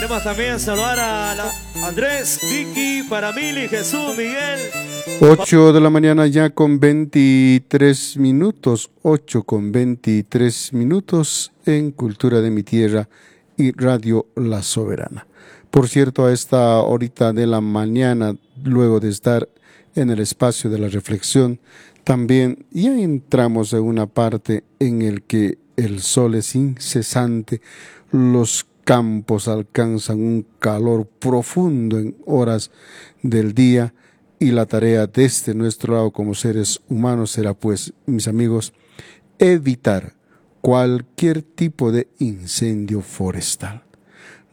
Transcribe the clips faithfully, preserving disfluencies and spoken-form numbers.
Queremos también saludar a la Andrés, Vicky, Paramili, Jesús, Miguel. ocho de la mañana ya con veintitrés minutos, ocho con veintitrés minutos en Cultura de mi Tierra y Radio La Soberana. Por cierto, a esta horita de la mañana, luego de estar en el espacio de la reflexión, también ya entramos en una parte en el que el sol es incesante, los campos alcanzan un calor profundo en horas del día y la tarea desde nuestro lado como seres humanos será, pues, mis amigos, evitar cualquier tipo de incendio forestal.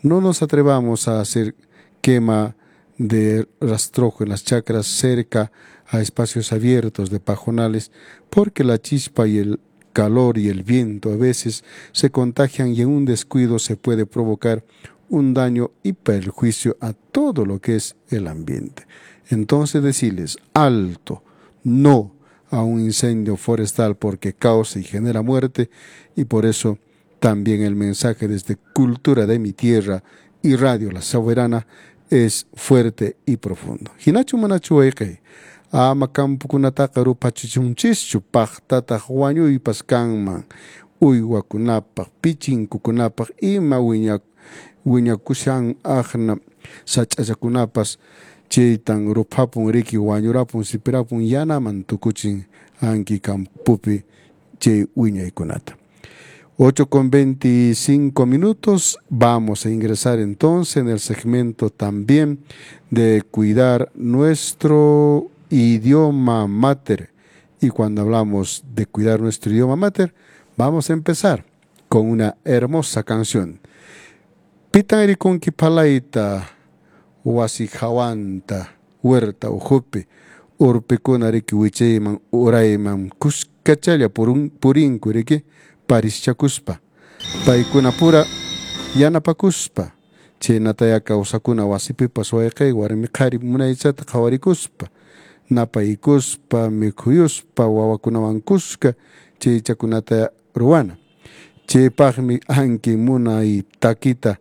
No nos atrevamos a hacer quema de rastrojo en las chacras cerca a espacios abiertos de pajonales, porque la chispa y el calor y el viento a veces se contagian y en un descuido se puede provocar un daño y perjuicio a todo lo que es el ambiente. Entonces decirles alto, no a un incendio forestal porque causa y genera muerte, y por eso también el mensaje desde Cultura de mi Tierra y Radio La Soberana es fuerte y profundo. Hinachu manachu wayqey, ama kampukunataqa ruphachichunchischu, paqtataq wañuypas kanman, uywakunapaq, pichinkukunapaq, ima wiña wiñakushan aqna sach'achakunapas chaytan ruphapun riki wañurapun sipirapun yanaman tukuchin anki kampupi chay wiñaykunata. ocho con veinticinco minutos, vamos a ingresar entonces en el segmento también de cuidar nuestro idioma mater. Y cuando hablamos de cuidar nuestro idioma mater, vamos a empezar con una hermosa canción. Pitan rikunki phalayta, wasi hawanta, huerta ukhupi, urpikuna riki wichayman urayman kuskachalla purun, purinku riki parischakuspa, paykuna pura yanapakuspa, chaynataya kawsakuna wasipipas wayqey warmi qhari munaychata qhawarikuspa, napaykuspa, mikhuyuspa, wawakunawan kuska chaychakunata ruwana. Chaypaqmi anki munay takita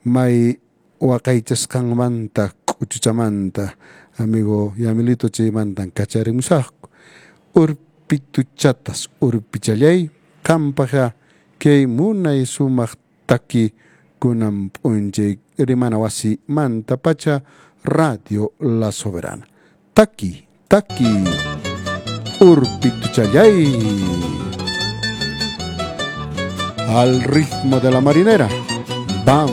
may waqaychasqanmanta k'uchuchamanta amigo Yamilito chaymantan kacharimusaqku. Urpituchatas urpichallay qampaqqa kay munay sumaq taki kunan p'unchay rimana wasimanta pacha Radio La Soberana. Taki, taki, urpituchallay. Al ritmo de la marinera. Vamos.